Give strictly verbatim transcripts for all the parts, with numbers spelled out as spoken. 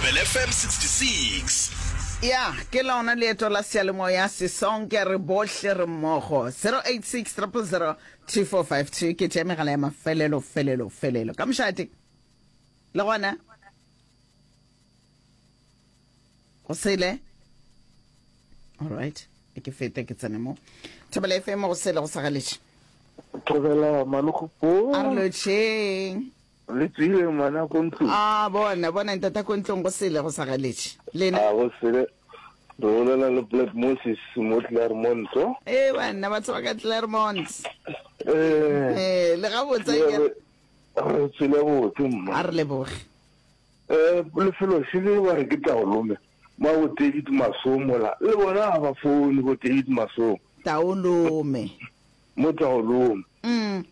Thobela F M sixty-six. Ya, ke lona leeto la seyalemoya sesonke, re bohle re mmogo. zero eight six zero zero two four five two ke tšea megala ya mafelelo felelo felelo ka mošate le gona go sele. Alright, ke fete ke tsene mo Thobela F M. Go sele go sagaletše. Thobela, malogopo. A re lotšheng. Le tswile ngwana ko ntlong? A bona bona ntata ko ntlong, go sele go sagaletše lena. A go sele, re bolela le Black Moses mo Claremont. Ee banna, batho ba ka Claremont. Eh. Ee, le gabotse akere? Re tswile botse, mma. A re leboge. Eh, lefelo šele ba re ke Taolome ma bo David Masomo la le bona ga ba foune bo David Masomo. Taolome. Mo Taolome. mm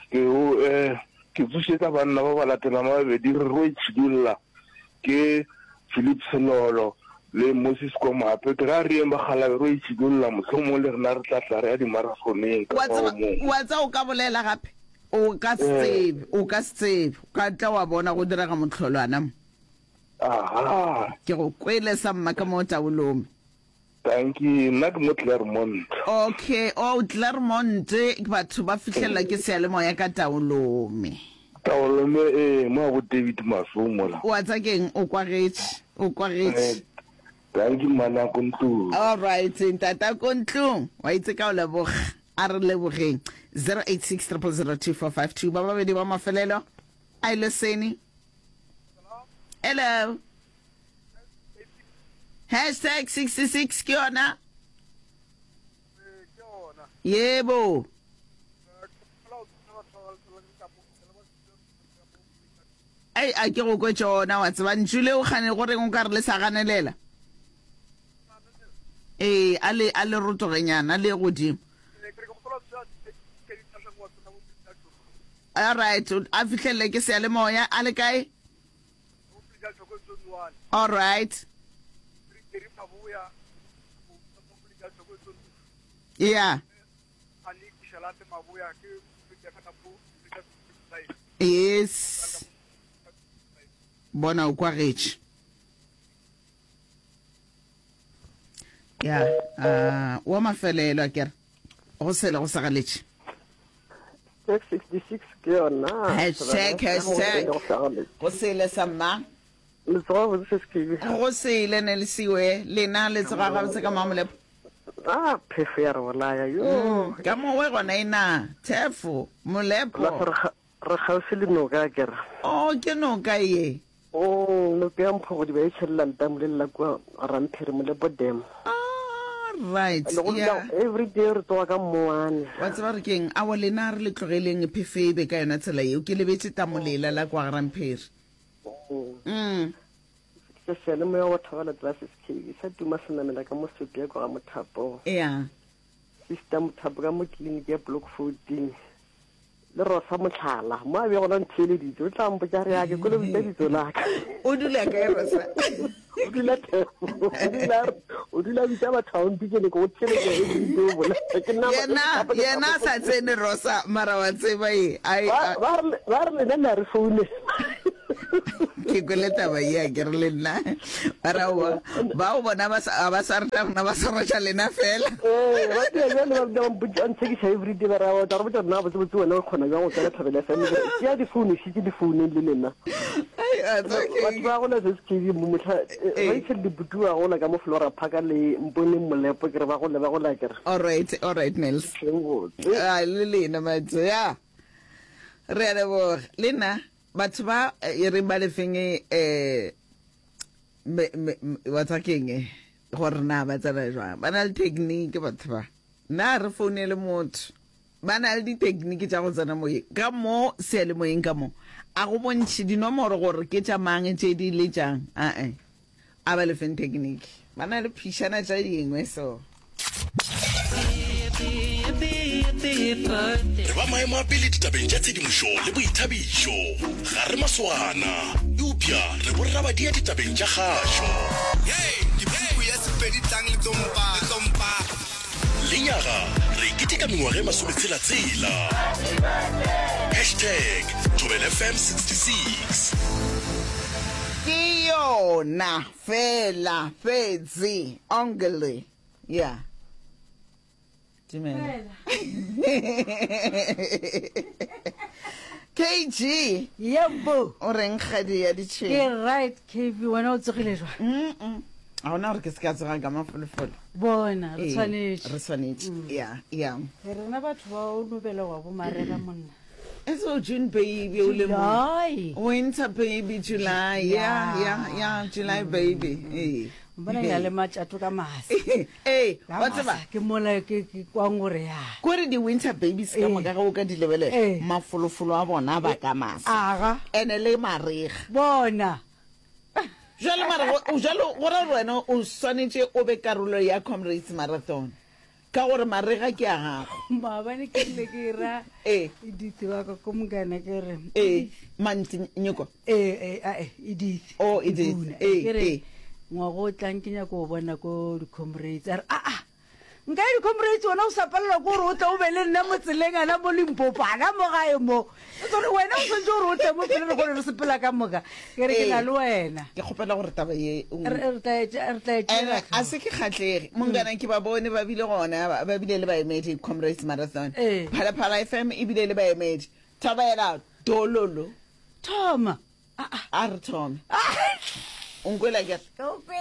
Ke o eh ke tsošetsa banna ba ba latelang ba babedi re ro itšhidulla, ke Philip Selolo le Moses Komape. Ke ra re yeng ba galabe ro itšhidulla, mohlomong le rena re tla tla re ya dimarathoneng ka wa fao tseba mo. Wa tseba, o ka bolela gape, o ka se tsebe, o ka se tsebe, o ka tla wa bona go direga mohlolwana mo. Aha. Ke go kwele sa mma ka mo Taolome. Tanki, nna ke mo Claremont. Okay, oh, Claremont, batho ba fihlelela ke seyalemoya ka Taolome. Taolome, ee, mo a bo David Masomo la. Wa tsa keng, o kwagetše, o kwagetše. Eh, tanki mmana ko ntlong. All right, ntata ko ntlong, wa itse ka o leboga, a re lebogeng. zero eight six zero zero two four five two, ba babedi ba mafelelo a ile sene. Hello, hashtag sixty-six ke yona yebo. Ei, a ke go kwe tšona, wa tseba ntšu leo kgane go reng o ka re le sa ganelela. Ee, a le a le rotogenyana le godimo. All right, a fihlelele ke seyalemoya a le kae? All right, yeah. Yes, bona o kwagetše ya uh, wa mafelelo a kere go sele go sagaletše. sixty-six ke yona. Hashtag, hashtag. Go sele sa mma. Le tsoga botse, se sekebe? Go sele ne le siwe lena, le tsoga gabotse ka mamolepo? A phefo ya re bolaya yo. Mm, ka mowe gona e na thefo molepo. La re ga- re kgauswi le noka kere. O ke noka ye? Mm, noka ya Mphogodiba e tšhelela letamo le la kua Ramphere, Molepo Dam. Right. Le go yeah. dula every day re tsoga ka mmoane. Wa tseba re keng, awa lena re le tlogeleng phefo e be ka yona tsela yeo. Ke lebetse tamolela la kwa Rampheri. Mm. Se seyalemoya wa thobela tlase S K sa tuma senamela ka mo sopi ya kwa ga Mothapo. Yeah sister Mothapo ka mo tleliniki ya Block fourteen, le Rosa Motlhala mo a be gona ntheeleditse, o tla mpotsa re ake kole bitsa bitso laka. O dula kae Rosa? O dula Theko. o dula o dula bitsa batho a ompitse le ko go theletsa every day o bolela ke nna. Yena yena a sa tsene Rosa, mara wa tseba e ai ba ba re ba re lena le a re founela. Ke kwele taba ye a ke re le nna mara wa bao bona ba sa ba sa reta rena, ba sa reta lena fela. Ee, ba tia bjale ba ba mpotsa, ba ntshekiša every day, ba re o tla re botsa nna botse botse wena o kgona jang go tsena Thobela F M, ke re ke ya difounu šitse difouneng le lena. Ai, a tsa batho keng ba gola se S K B mo motlha. Eh. Rachel Diputu wa gola ka mo Flora Park le Mponeng Molepo, ke re ba gole ba gola ke re. All right, all right, Nels. Tleng botse. A le lena matso ya re a leboga le nna batho ba e reng ba lefeng um wa tsa keng eh, gore na ba tsena jwang, ba na le technique batho ba nna re founele motho, ba na le di-technique tša go tsena moyeng ka mo seyalemoyeng ka mo a go bontšhe dinomoro gore ke tša mang tše di le tšang ae a ba lefeng technique, ba na le phišana tša dingwe so. Re ba maemo a pele ditabeng tša tshedimošo le boithabišo, ga re maswana eupša re borrabadia ditabeng tša kgašo. Hey, ke puku ya Sepedi tlang le tsompa le tsompa. Lenyaga re keteka mengwaga e masometshela-tshela. Hashtag Thobela F M sixty-six. Ke yo. bona fela fetse ongele ya dumela K G. Yebo. O reng, kgadi ya Ke ditšhwene? Right, K B, wena o tsogile jwang? Mm ga gona gore ke se ka tsogang ka mafolofolo. Bona re Ee, tshwanetše. Re swanetše, ya ya. Rena batho ba o nobela wa bomarega monna. So June baby o le mo July. Winter baby, July, yeah yeah yeah July baby, ee. Bona ke na le matšato ka masa. Ee, Ka wa tseba, masa, ke mola ke ke kwang gore ya kore di-winter babies ka Ee. moka ge o ka di lebelela, Ee. mafolofolo a bona ba ka masa. Aga. Ene le marega. Bona. Jale mara go- jalo go ra gore wena o swanetše o be karolo ya Comrades Marathon ka gore marega ke a gago. Maabane ke rile ke ra Ee. Edith wa ka ko mokana, ke re Ee, manti nyoko. Ee, ee, ae, Edith. Oh, Edith. Puna. Ee, Ke re ee. ngwago o tlang ke nyako o bona ko di-Comrades. A re, aa, nka ya di-Comrades wena o sa palelwa ke gore o tle o be le nna mo tseleng ana mo Limpopo ana mo gae mo tsore wena o tshwanetse gore o tle mo pele re kgone re sepela ka moka. Ke re ke na Ee. le wena. Ke kgopela gore taba ye o- Re re tla e tše- re tla e Ene tšeela a se ke kgatlhege mongana, ke ba bone ba bile gona, ba ba bile le baemedi Comrades Marathon. Ee. Phalaphala F M ebile le baemedi thabaela dololo. Thoma. A re thome, o nkwela kere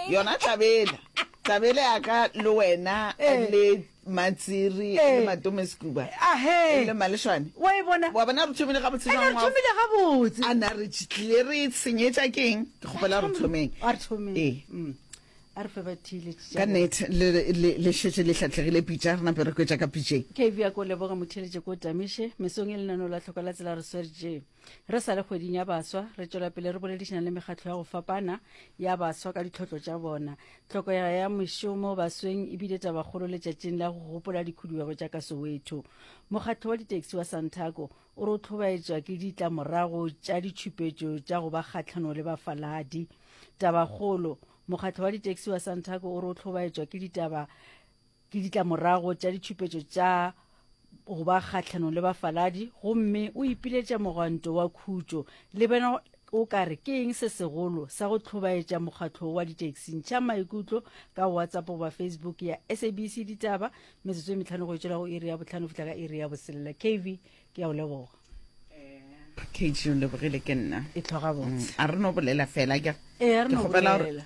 yona tlabela tlabele ya ka le wena Ee. le Matsiri Ee. le Matome Scuba ahe le Malešwane. Wa e bona. Wa bona re thomile gabotse. Ene re Jwang wa- thomile gabotse. A na re tlile re senyetša keng? Ke kgopela re thomeng. A re thomeng. Ee. Mm. A re fe ba theeletše. Ka nnete le- le le šetše le hlatlhegile pitša, re nape re kwetša ka pitšeng. K V ya ko leboga motheletše ko tamiše mesong e lenaneo la tlhoko la tsela re swerje re sa le kgweding ya baswa. Re tšwela pele re boledišana le mekgatlo ya go fapana ya baswa ka ditlhotlo tša bona. Tlhoko ya ya mešomo basweng ebile tabakgolo letšatšing la go gopola dikhuduego tša ka Soweto. Mokgatlo wa ditaxi wa Santaco o re o tlhobaetšwa ke ditlamorago tša ditšhupetšo tša go ba kgatlhanong le bafaladi. Tabakgolo, mokgatlo wa ditaxi wa Santaco o re o tlhobaetšwa ke ditaba ke ditlamorago tša ditšhupetšo tša go ba kgatlhanong le bafaladi, gomme o ipiletša mogwanto wa khutšo. Le bena o ka re ke eng se segolo sa go tlhobaetša mokgatlo wa ditaxi? Ntšha maikutlo ka WhatsApp goba Facebook ya S A B C Ditaba. Metsotso e metlhano go etšela go iri ya botlhano, fihla ka iri ya boselela. K V, ke ya o leboga. K G, o lebogile ke nna. E tlhoga botse. A re no bolela fela ke Ee, a re ke no kgopela gore bolela.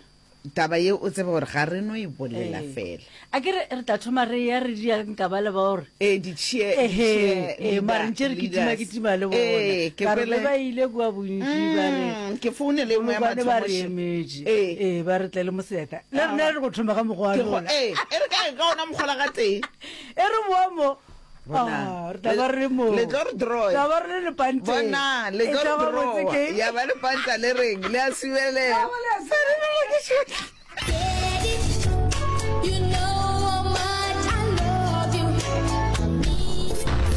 Taba ye o tsebe gore ga re no e bolela Ee. fela. A ke re re tla thoma re ya re dia nka ba le ba gore ee, di-cheer- Ehe, di-cheer ee, mare leader- ntše re kitima leaders. kitima le Ee, bona ke ka re kwele- le ba ile kua bontši ba re Mm, ke founele e nngwe ya Molokwane ba re mathomo. emetše. Ee. Ee, ba re tle le moseta le rena re go thoma ka mokgwa wa Ke go- lona. ee, e re ka ka ona mokgola ga tee. E re boa mo. Bonang. Ah, re tla ba re le mo. Le tlo re draw-a. Tla ba re le lepanteng. Bona le E tlo tla re ba botse draw-a. ke- Ya ba lepanta le reng le a subelela. Ya ba le a You know how much I love you.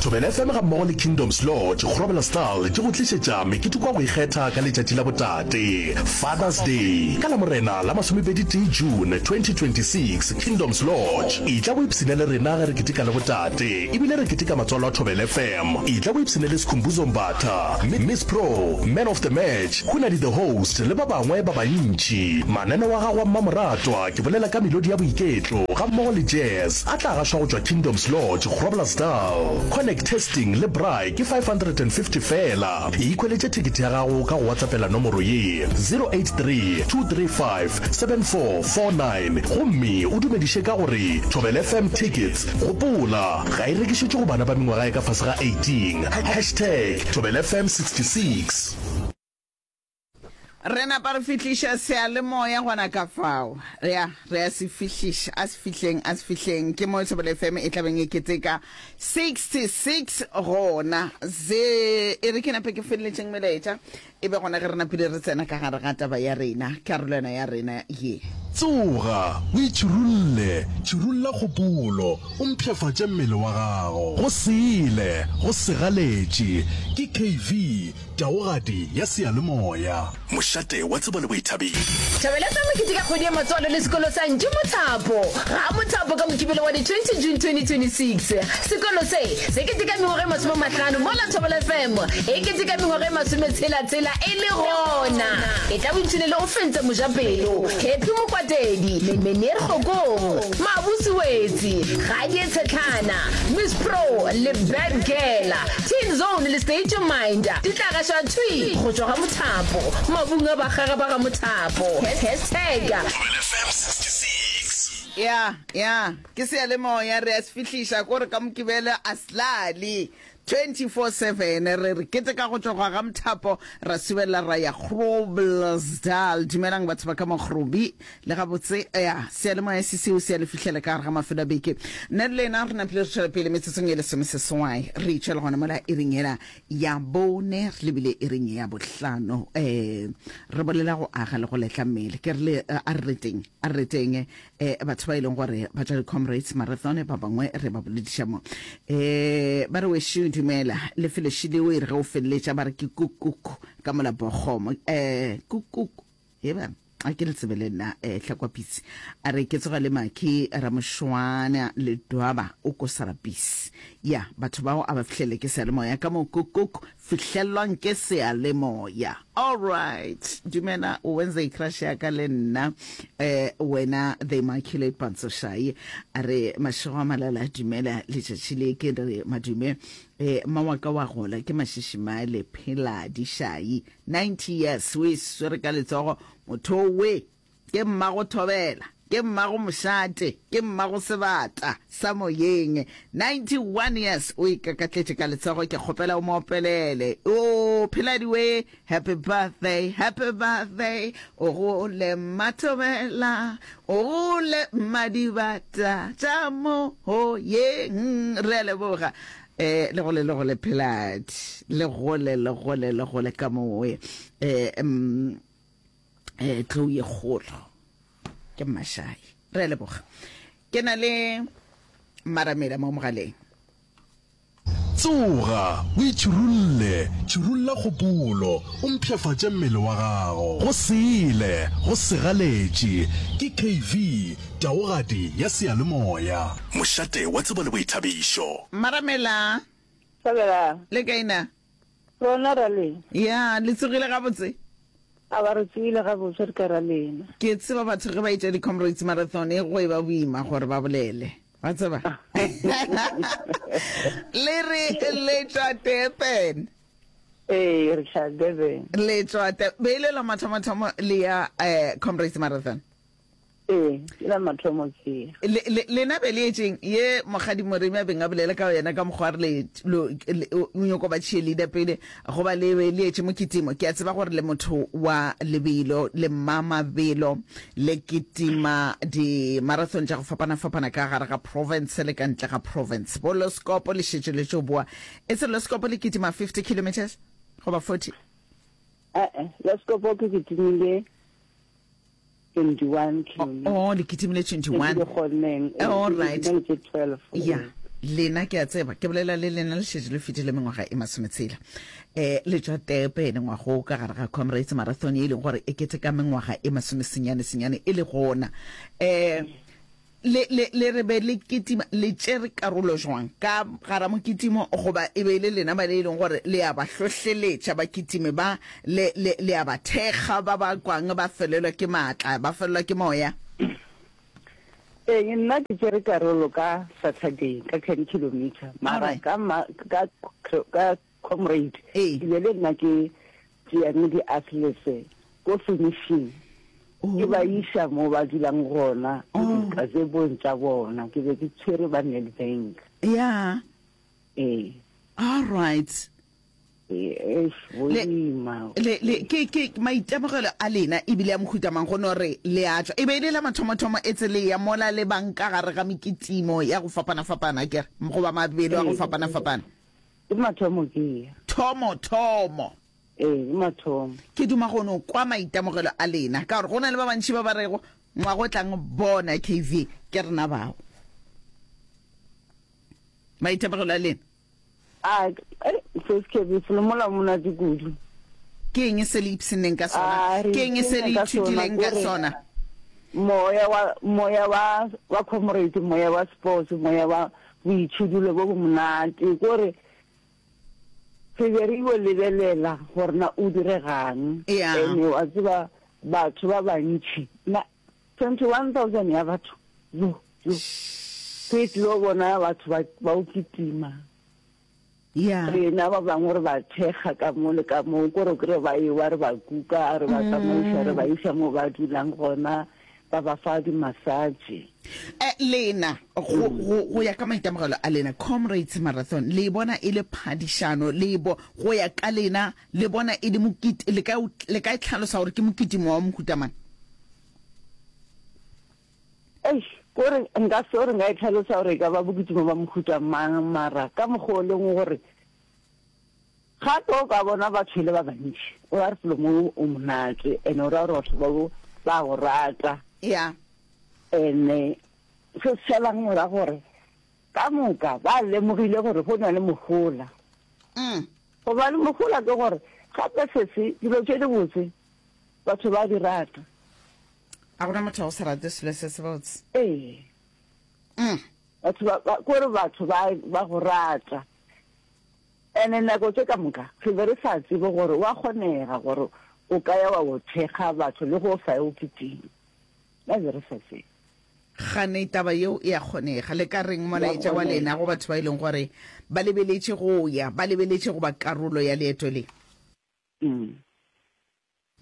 Thobela F M ga mmogo le Kingdoms Lodge Groblersdal di go tlišetša meketeko wa go ikgetha ka letšatši la botate, Father's Day, ka la Morena la masomepedi tee June twenty twenty-six. Kingdoms Lodge e tla boipshina le rena ge re keteka le botate, ebile re keteka matswalo a Thobela F M. E tla boipshina le Skhumbuzo Mbatha, Miss Pro, Man of the Match, Hunadi the host le ba bangwe ba bantši. Mananeo a gago a mmamoratwa, ke bolela ka melodi ya boiketlo ga mmogo le jazz, a tla gašwa go tšwa Kingdoms Lodge Groblersdal. Connect testing le braai ke five hundred and fifty fela. Ikhweletše thekete ya gago ka go WhatsAppela nomoro ye zero eight three, two three five, seven four four nine gomme o dumediše ka gore Thobela F M tickets. Gopola, ga e rekišetšwe go bana ba mengwaga e ka fase ga eighteen. Hashtag Thobela F M sixty-six. Re napa re fihliša seyalemoya gona ka fao, ya re a se fihliša, a se fihleng, a se fihleng. Ke mo Thobela F M e tlabeng e keteka sixty-six gona ze. E re ke nape ke feleletšeng melaetša, e be gona ge re napile re tsena ka gare ga taba ya rena, karolwana ya rena ye. Tsoga, o itšhirulle, tšhirulla kgopolo, o mpshafatše mmele wa gago. Go sele, go segaletše, ke K V, taogadi ya seyalemoya. Mošate wa tsebo le boithabišo. Thabela sa mokete ka kgwedi ya matswalo le sekolo sa Ntši Mothapo ga Mothapo ka Mokibelo wa di twenty June twenty twenty six. Sekolo se se keteka mengwaga e masome mahlano mola Thobela F M e keteka mengwaga e masometshela-tshela e le gona. E tla boipshine le Ofentse Mojapelo, Happy Mokwatedi, Meneer Kgokong, Mabusi Wetsi, Gadie Tshetlhana, Miss Pro le Bad Girl, Teen Zone le State Your Mind di tla gašwa thwi go tšwa ga Mothapo, mabung a bakgaga ba ga Mothapo. Hashtag Thobela F M sixty-six. Ya, ya, ke seyalemoya, re a se fihliša ko re ka Mokibelo a slale twenty-four seven re re keteka go tšwa ga Mothapo ra subelela ra ya Groblersdal. Dumelang batho ba ka Mokgrobi le gabotse. Ya seyalemoya se seo se ya le fihlela ka gare ga mafelo a beke. Nna le lena re napile re tšwela pele metsotsong e lesomeseswai re itšwela gona mola iring ela ya bone re lebile iring ya bohlano. um re bolela go aga le go letla mmele. Ke re le a re reteng, a re reteng um batho ba e leng gore ba tšwa di-Comrades Marathon, ba bangwe re ba bolediša mo. um ba re wešo dumela lefelo šileo e re ge o feleletša ba re ke kukuku ka molapokgomo, um kukuku eba a ke le tsebe le nna. um Tlhakwapitsi a re ke tsoga le Maki Ramošwana le Dwaba o ko Sarapisi. Ya batho bao a ba fihlele ke seyalemoya ka mo kukuku fihlelelwang ke seyalemoya. Alright, dumela Wednesday crush ya ka le nna eh wena the Immaculate Pantsoshai. A re mašego a malala, dumela letšatši le ke re madume eh mawaka wa gola ke Mašišimale Pheladi Shai, ninety years o e swere ka letsogo. Motho we ke mmago thobela, ke mmago mošate, ke mmago sebata sa moyeng. ninety-one years o ikakatletše ka letsogo. Ke kgopela o mo opelele o Pheladi we, happy birthday, happy birthday, o gole mathobela, o gole madibata tša moyeng. Re a leboga eh le gole, le gole Pheladi, le gole, le gole, le gole ka mowe. eh mm, eh tlou ye kgolo ke Mmašai. Re a leboga. Ke na le Maramela mo mogaleng. Tsoga, o itšhirulle, tšhirulla kgopolo, o mpshafatše mmele wa gago. Go sele, go segaletše, ke K V, taogadi ya seyalemoya. Mošate wa tsebo le boithabišo. Maramela. Thabela. Le kae na? Rona ra lena. Ya, le tsogile gabotse? A ba re tsogile gabotse, re ka ra lena. Ke tseba batho ge ba etša di-Comrades Marathon e go e ba boima gore ba bolele. Wa tseba? Le re le tšwa Durban. Ee, re tšwa Durban. Le tšwa be e le la mathomo-thomo le ya eh, Comrades Marathon? Ee, ke la mathomo ke. Le, le, lena be le etšeng ye Mokgadi Moremi a beng a bolela ka yena ka mokgwa re le, lo, le, o nyoko ba cheerleader pele goba le be le etše mokitimo? Ke a tseba gore le motho wa lebelo, le mmamabelo, le kitima di-marathon tša go fapana-fapana ka gare ga province le ka ntle ga province. Bo Loskopo le šetše le tšo boa. E se Loskopo le kitima fifty kilometers goba forty? Eh, Loskopo ke kitimile twenty-one kilometers. Oh, le kitimile twenty-one. Ke kgonneng. All right. Ke twelve. Ya lena ke a tseba ke bolela le lena le šetše le fetile mengwaga e masometshela um le tšwa Durban ngwago ka gare ga Comrades Marathon ye e leng gore e kete ka mengwaga e masomesenyane senyane e le gona. um le le le re be le kitima, le tšere karolo jwang ka gara mokitimo, goba e be e le lena ba le e leng gore le a ba hlohleletša ba kitime, ba le le le a ba thekga ba ba kwang ba felelwa ke maatla, ba felelwa ke moya? Ee, nna ke tšere karolo ka Saturday ka ten kilometer, mara Alright. ka ma- ka ka Comrade Ee. ke be le nna ke tšeang di-athletes ko finishing, ke ba iša mo ba dulang gona dikazebong tša bona. Ke be ke tshwere ba Nedbank. Ya. Ee. All right. Ee, eish, Le- boima. Le le ke ke maitemogelo a lena ebile ya mohuta mang go no re le a tšwa e be e le la mathomothomo e tse le ya mola le bang ka gare ga mekitimo ya go fapana-fapana kere goba mabelo a go Ee. fapana-fapana? Ke mathomo ke ya. Thomo thomo. Ee, ke mathomo. Ke duma go no kwa maitemogelo a lena ka gore go na le ba bantši ba ba rego Ngwaga o tlang bona K V, ke rena bao. Maitemogelo a lena? A, eh, First K V, felo mola monate kudu. Ke eng se le ipshinneng ka sona? A, re Ke eng se le ipshinne ka sona, ithutileng ka kore sona? Moya wa, moya wa, wa comrade, moya wa sports, moya wa boitšhidulo bo bo monate, kore re be re yo lebelela gore na o diregang. Ya. Ene wa tseba batho ba bantši, na twenty-one thousand ya batho, yo, yo, re tlilo bona batho ba, ba o kitima. Ya. Rena ba bangwe re ba thekga ka mo le ka mo, kore o kry-e ba ewa re ba kuka, re ba tsamaiša, re ba iša mo ba dulang gona, ba ba fa di-massage. Eh, lena, go, go, go ya ka maitemogelo a lena, Comrades Marathon, le e bona e le phadišano, le e bo, go ya ka lena, le bona e le mokiti, le ka, le ka e hlalosa gore ke mokitimo wa mohuta mang? Eish, kore nka se gore nka e hlalosa gore e ka ba bokitimo ba mohuta mang, mara ka mokgwa o leng gore gape o ka bona batho e le ba bantši, o ra re felo mo o monate, and o ra gore batho bao ba go rata. Ya. Ene se se šalang morago gore ka moka ba lemogile gore go na le mohola. Mm. Go ba le mohola ke gore gape sese dilo tše dibotse batho ba di rata. A gona motho wa go se rate selo se sebotse. Ee. Mm. Batho ba, ba, kore batho ba, ba go rata. Ene nako tše ka moka re be re sa tsebe gore wa kgonega gore o ka ya wa bo thekga batho le go sa ye o kitima. Ba be re sa tsebe. Gane taba yeo e a kgonega. Le ka reng Ya molaetša wa kgonega. lena go batho ba e leng gore ba lebeletše go ya, ba lebeletše go ba karolo ya leeto le? Mm.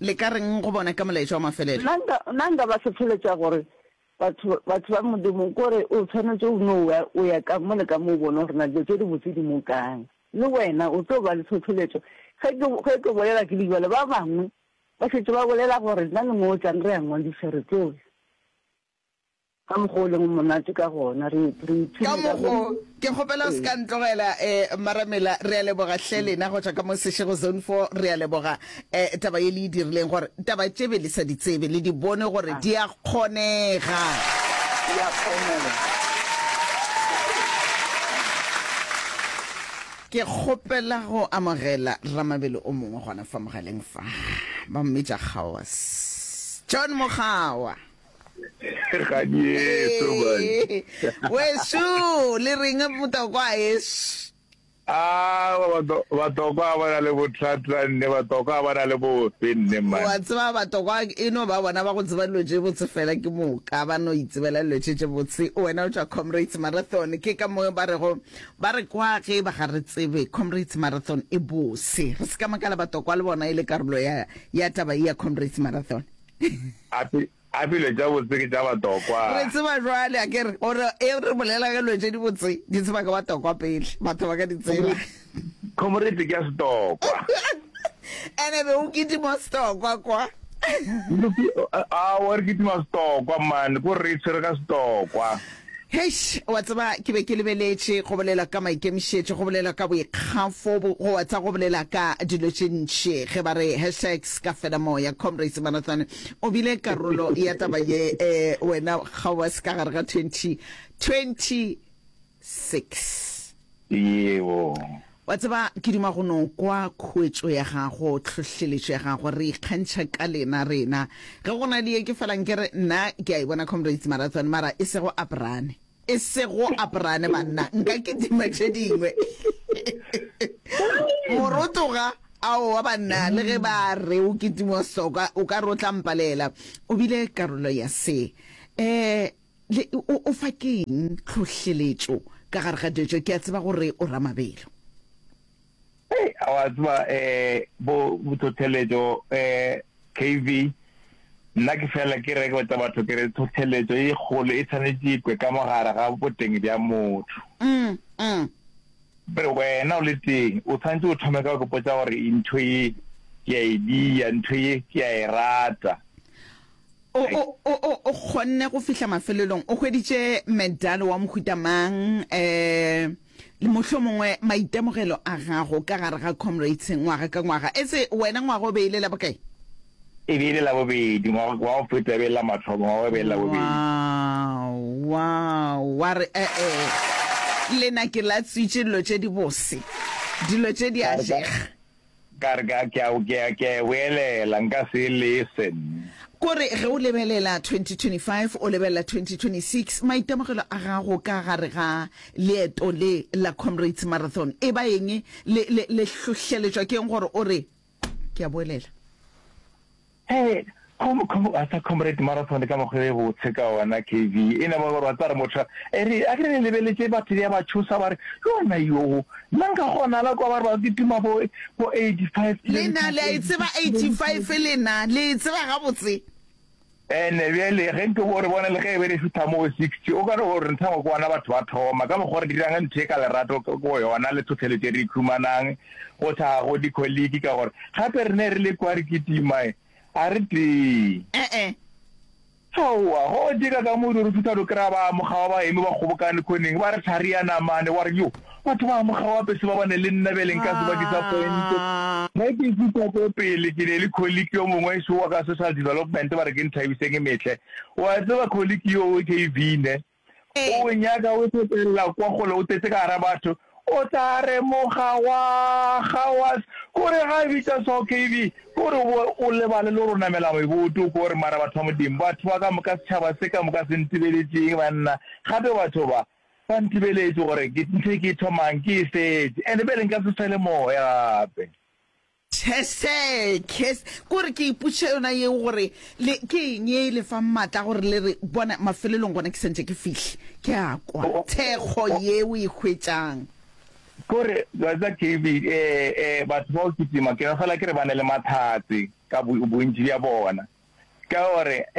Le ka reng go bona ka molaetša wa mafelelo? Nna nka, nna nka ba hlohleletša gore batho, batho ba Modimo, kore o tshwanetše o no ya, o ya ka mo le ka mo o bone gore na dilo tše dibotse di mo kae. Le wena o tlo ba le tlhohleletšo. Ge ke, ge ke bolela ke le bjalo, ba bangwe ba šetše ba bolela gore nna le mo o tlang re a ngwadiša, re tlo ya. Ka mokgwa o leng monate ka gona, re, re Ka ipshine ka mokgo, go. ke kgopela o se Ee. ka ntlogela, eh, Maramela, re a leboga hle lena go tšwa ka mo Seshego Zone four, re a leboga, eh, taba ye le e dirileng gore taba tše be le sa di tsebe, le di bone gore Ah. di a kgonega. Di a kgonega. Ke kgopela go amogela ramabelo o mongwe gona fa mogaleng fa, ba mmitša Kgawas. John Mokgawa. Gadieso man. Ee, wešu, le reng motokwa eš? Ah, bato- batokwa ba na le bothata nne, batokwa ba na le bofe nne Wa man. tseba batokwa e no ba bona ba go tseba dilo tše botse fela ke moka ba no itsebela dilo tše tše botse. Wena o tšwa Comrades Marathon, ke ka mo ba rego ba re kwa ge ba ga re tsebe Comrades Marathon e bose. Re se ka makala batokwa le bona e le karolo ya ya taba ye ya Comrades Marathon. Ape a dilo tša botse ke tša batokwa. Re tseba jwale a ke re gore e re bolela ka dilo tše di botse di tseba ka batokwa pele batho ba ka di tseba. Comrade ke ya setokwa. Ene be o kitima setokwa kwa. A wa re kitima setokwa man, ko re tshwere ka setokwa. Heish, wa tseba ke be ke lebeletše go bolela ka maikemišetšo, go bolela ka boikgafo, bo, go wa tsa go bolela ka dilo tše ntši. Ge ba re hashtags ka fela moya, Comrades Marathon o bile karolo ya taba ye, eh, wena Kgawas ka gare ga twenty twenty six. Yebo. Wa tseba ke duma go no kwa khuetšo ya gago, tlhohleletšo ya gago, re ikgantšha ka lena rena. Ge go na le ye ke felang ke re nna ke a e bona Comrades Marathon, mara e sego Abrane. E sego Abrane banna, nka kitima tše dingwe. Morotoga, aowa banna, le ge ba re o kitima soka, o ka re o tla mpalela. O bile karolo ya se. Eh, le, o, o fa keng tlhohleletšo ka gare ga dilo tše? Ke a tseba gore o ramabelo. Hey, a wa tseba eh bo tlhohleletšo eh K V nna ke fela ke re ke botsa batho ke re tlhohleletšo e kgolo e tshwanetše e kwe ka mogare ga boteng bja motho. Mm, mm. Re wena o le teng o tshwanetse o thome ka go potsa gore ntho ye ke a e dia, ntho ye ke a e rata. O, o, o, o, o kgonne go fihla mafelelong, o hweditše medalo wa mohuta mang, eh, le mohlomongwe maitemogelo a gago ka gare ga Comrades ngwaga ka ngwaga. Etse wena ngwaga o be e le la bokae? E be e le la bobedi, ngwaga wa go feta e be e le la mathomo, ngwaga wo e be e le la bobedi. Wow, wow, wa re e-e, le na ke latswitše dilo tše dibose, dilo tše di a Ka re ka, jega. ka re ka, ke a, ke a, ke a e boelela, nka se e lese. Kore ge o lebelela twenty twenty-five o lebelela twenty twenty-six, maitemogelo a gago ka gare ga leeto le la Comrades Marathon e ba eng? Le, le, le hlohleletšwa ke eng gore o re, Ke a boelela? Hee, com, com, a sa Comrade Marathon ka mokgwa e botse ka ona, K V. E no ba gore wa tseba re motho, e re, a ke re le lebeletše batho ya ba tšhosa ba re, yona yoo, nna nka kgona la kwa ba re ba kitima bo, bo eighty-five Lena kilometers, le a e tseba eighty-six eighty-five kilometers. lena, le e tseba gabotse. Ene bjale ge nke bo re bone le ge e be re fihla moo sixty, o ka re o re ntha go bona batho ba thoma ka mokgwa re dirang ntho e ka lerato go yona le tlhohleletšo e re ikhumanang go hlaga go dikholiki ka gore gape re ne re le kwa re kitima a re tee. E-e. Aowa, go dika ka modu re fihla re kry-a ba amogawa ba eme ba kgobokane khoneng ba re thari ya namane wa re yo batho ba amogawa pese ba bane le nna bjale nka se ba disappointe. Ge ke fihla ko pele ke ne le colleague yo mongwe šo wa ka social development ba re ke Nthabiseng Mehle. Wa tseba colleague yo K V ne? O nyaka o fetelela kwa kgole o tletse ka gara batho o tla re moga wa ga wa kore ga bitša so K V kore o o lebale le gore o namela meboto kore mara batho ba Modimo batho ba ka moka setšhaba se ka moka se ntebeletšeng banna gape batho ba Ba ntebeletše gore ke ntho e ke e thomang ke e fetše, and bjale nka se fele moya gape. Chese, kes, kore ke ipotšiša yona yeo gore le, ke eng ye e le fang maatla a gore le re, bona, mafelelong gona ke santše ke fihle. Ke a kwa thekgo ye o e hwetšang. Kore, wa tseba K B, eh, eh, batho ba go kitima, ke no fela ke re ba ne le mahlatse ka bo, bontši bja bona. Ka gore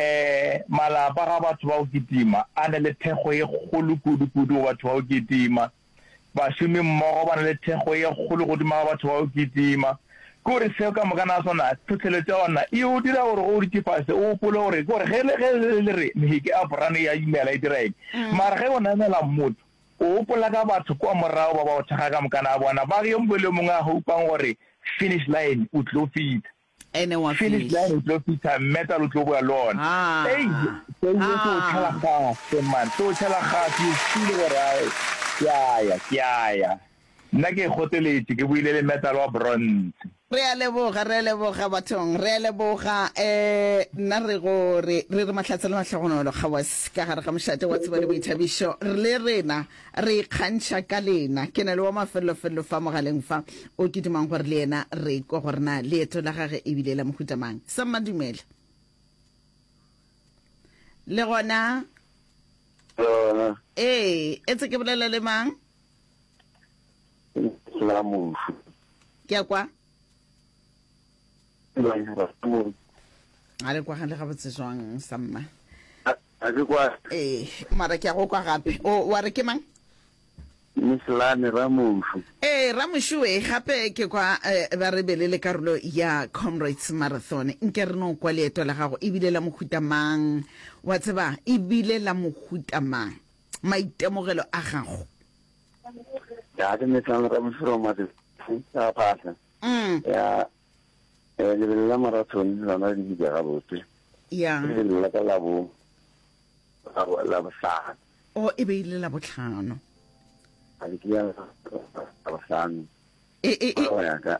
malapa ga batho ba go kitima a na le thekgo ye kgolo kudu-kudu go batho ba go kitima. Bašomi mmogo ba na le thekgo ye kgolo godimo ga batho ba go kitima. Ke gore seo ka moka na sona, tlhohleletšo ya gona e o dira gore ge o dutše fase o gopole gore, ke gore ge le ge le re meheke a brane ya imela e dira eng, mara ge o namela motho o gopola ka batho kua morago ba ba o thekga ka mokana ga bona, ba yo mongwe le yo mongwe a hopang gore finish line o tlo fihla. Ene wa Finish fihla. line o tlo fihla, metal o tlo boya le ona. Ah. Ei, seo se o tšhela gase man, se o tšhela gase, you feel gore ai, ke a ya, ke a ya. Nna ke kgoteletše, ke boile le metal wa bronze. Re a leboga, re a leboga bathong, re a leboga. Eh, nna re go re, re re mahlatse le mahlogonolo kgawas ka gare ga mošate wa tsebo le boithabišo. Re le rena Re ikgantšha ka lena. Ke na le wa mafellofello fa mogaleng fa, o ke dumang gore le yena re kwe gore na leeto la gage e bile la mohuta mang. Samma dumela. Le gona? Le gona. Ee, etse ke bolela le mang? La mošu. Ke a kwa. A le kwagale gabotse jwang, Samma? A ke kwa. Ee, mara ke a go kwa gape. O, wa re ke mang? Mislane Ramošu. Ee, Ramošu we, gape ke kwa eh, ba re be le le karolo ya Comrades Marathon. Nke re no kwa leeto la gago e bile la mohuta mang? Wa tseba, e bile la mohuta mang? Maitemogelo a gago. Ya, ke Mislane Ramošu Ramatse, ya Phahla. Mm. Ya, eh, lebelo la marathon lona le bile gabotse. Ya. Ke lebelo la ka la bo, la bo, la bohlano. O, e be e le la bohlano. A ke ya la bohlano. E, e, e. Go ya ka.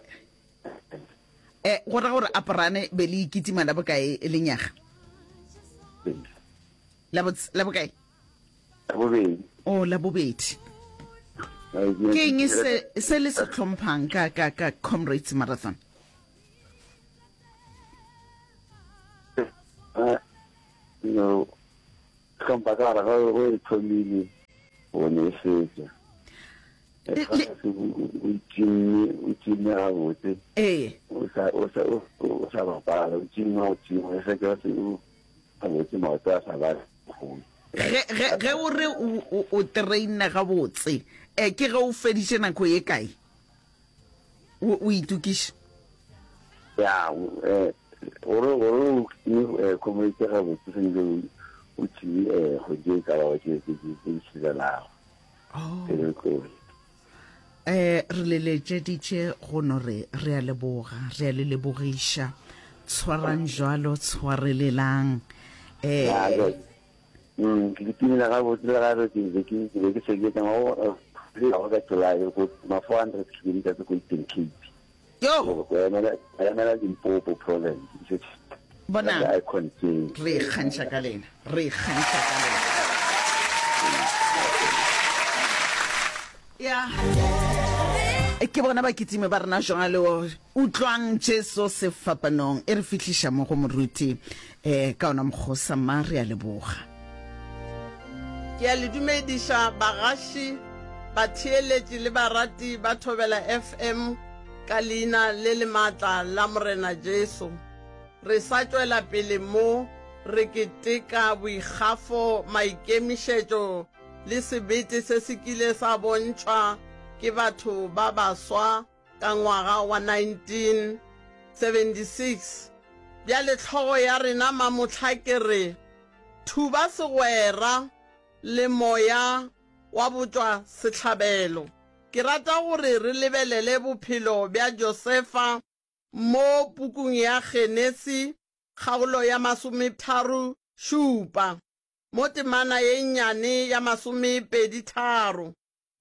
Eh, go ra gore Aporane be le ikitima la bokae lenyaga? La bo, la bokae? La bobedi. O, la bobedi. Ke eng se, se le se hlomphang ka, ka, ka Comrades Marathon? No, hlompha ka gore ge o e thomile o ne e fetša. O tšimme, o tšimme gabotse. Ee. O sa, o sa, o sa bapala, o tšimme go tšima, e se ke o gabotse maoto a sa ba kgole. Ge, ge, ge o re o, o, o trainne gabotse, eh, ke ge o feditše nako ye kae o, o itokiša? Ya, eh, gore, gore o tšime, eh, comrade gabotse, swanetše o, o tšime, eh, kgwedi e ka bago tše, tše, tše, tše di šilelago. Oh. Pele o tloge. Eh, re le letšeditše go no re, re a leboga, re a le lebogiša. Tshwarang jwalo, tshwarelelang. Eh, Ya, jwale. Mm, ke kitimela gabotse le gabe ke be ke ke be ke seketsa mo le go ka July go ma four hundred kilometers ko Eastern Cape. Yo. Go emela emela Limpopo province. Bonang. Ka icon ke. Re ikgantšha ka lena. Re ikgantšha ka lena. Ya. Ke bona bakitimi ba rena jwalo. Utlwang Jesu sefapanong e re fihliša mo go moruti eh ka ona mokgosa mma re a leboga. Ke a le dumediša bagaši, batheeletši le barati ba Thobela F M ka leina le le maatla la Morena Jesu. Re sa tšwela pele mo re keteka boikgafo, maikemišetšo le sebete se se kile sa bontšhwa ke batho ba baswa ka ngwaga wa nineteen seventy six. Bjale hlogo ya rena mamohla ke re, Thuba segwera le moya wa botšwa sehlabelo. Ke rata gore re lebelele bophelo bja Josefa mo pukung ya Genesi kgaolo ya masometharo šupa, mo temana ye nnyane ya masomepedi tharo.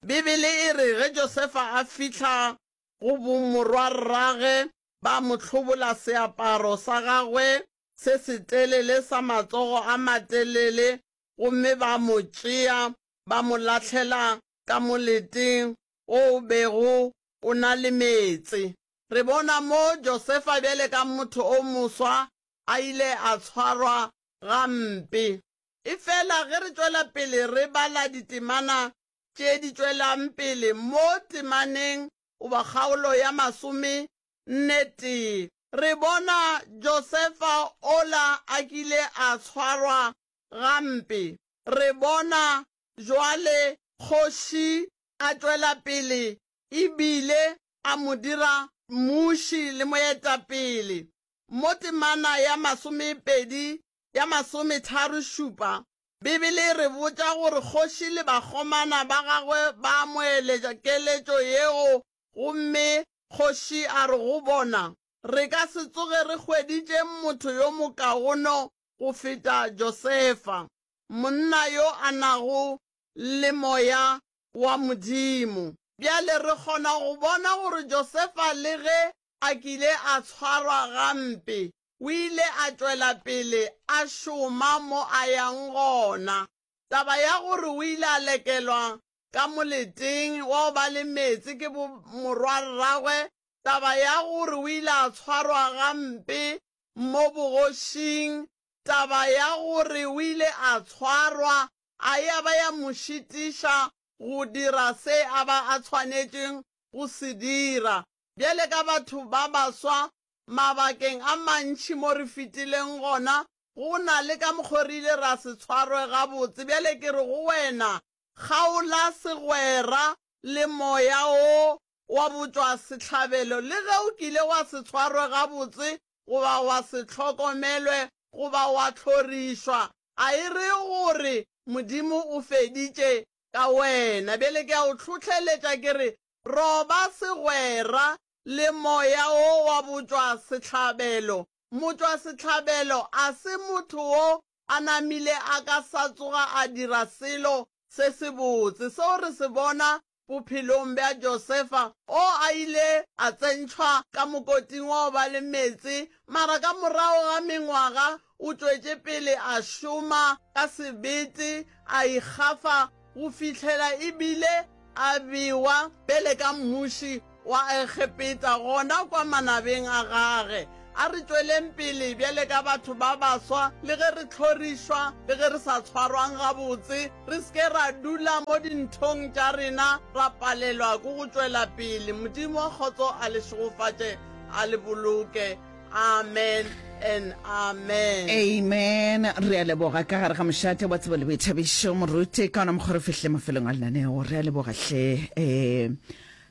Bibele e re ge Josefa a fihla go bomorwarragwe ba mo hlobola seaparo sa gagwe se setelele sa matsogo a matelele gomme ba mo tšea ba mo lahlela ka moleteng wo o bego o na le meetse. Re bona mo Josefa bjale ka motho o moswa a ile a tshwarwa gampe. Efela ge re tšwela pele re bala ditemana tše di tšwelang pele mo temaneng goba kgaolo ya masome nne tee, re bona Josefa ola a kile a tshwarwa gampe. Re bona jwale kgoši a tšwela pele e bile a mo dira mmuši le moetapele. Mo temana ya masomepedi ya masometharo šupa, Bibele e re botša gore kgoši le bakgomana ba gagwe ba amoeletša keletšo yeo gomme kgoši a re go bona, Re ka se tsoge re hweditše motho yo mokaono go feta Josefa, monna yo a nago le moya wa Modimo. Bjale re kgona go bona gore Josefa le ge a kile a tshwarwa gampe, o ile a tšwela pele a šoma mo a yang gona. Taba ya gore o ile a lekelwa ka moleteng wa go ba le meetse ke bomorwarragwe, taba ya gore o ile a tshwarwa gampe mo bogošing, taba ya gore o ile a tshwarwa a ya ba ya mo šitiša go dira se a ba a tshwanetšeng go se dira. Bjale ka batho ba baswa, mabakeng a mantši mo re fetileng gona, go na le ka mokgo re ile ra se tshwarwe gabotse. Bjale ke re go wena, kgaola segwera le moya wo wa botšwasehlabelo, le ge o kile wa se tshwarwe gabotse goba wa se hlokomelwe goba wa hlorišwa, a e re gore Modimo o feditše ka wena. Bjale ke a o hlohleletša ke re, roba segwera le moya wo wa botšwasehlabelo. Motšwasehlabelo a se motho wo a namile a ka sa tsoga a dira selo se sebotse. Seo re se bona bophelong bja Josefa, o a ile a tsentšhwa ka mokoting wa go ba le meetse, mara ka morago ga mengwaga o tšwetše pele a šoma ka sebete, a ikgafa go fihlela e bile a bewa pele ka mmuši wa Egepeta gona kwa manabeng a gage. A re tšweleng pele bjale ka batho ba baswa, le ge re hlorišwa, le ge re sa tshwarwang gabotse, re se ke ra dula mo dinthong tša rena ra palelwa ke go tšwela pele. Modimo wa kgotso a le šegofatše, a le boloke. Amen and amen. Amen. Re a leboga ka gare ga mošate wa tsebo le boithabišo, moruti. Ka ona mokgwa re fihlile mafelong a lenaneo. Re a leboga hle. Eh,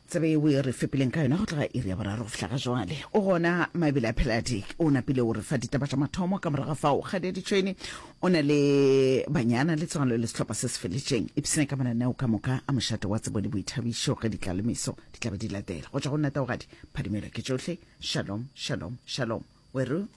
tsebe yeo e re fepileng ka yona go tloga iri ya boraro go fihla ga jwale. O gona Mabele a Pheladi o napile o re fa ditaba tša mathomo, ka morago ga fao Kgadi ya Ditšhwene o na le banyana le tswalo le sehlopha se se feletšeng. Ipshine ka mananeo ka moka a mošate wa tsebo le boithabišo ge ditlalemeso di tla be di latela. Go tšwa go nna Taugadi, phadimelo ke tšohle. Shalom, shalom, shalom. Weru.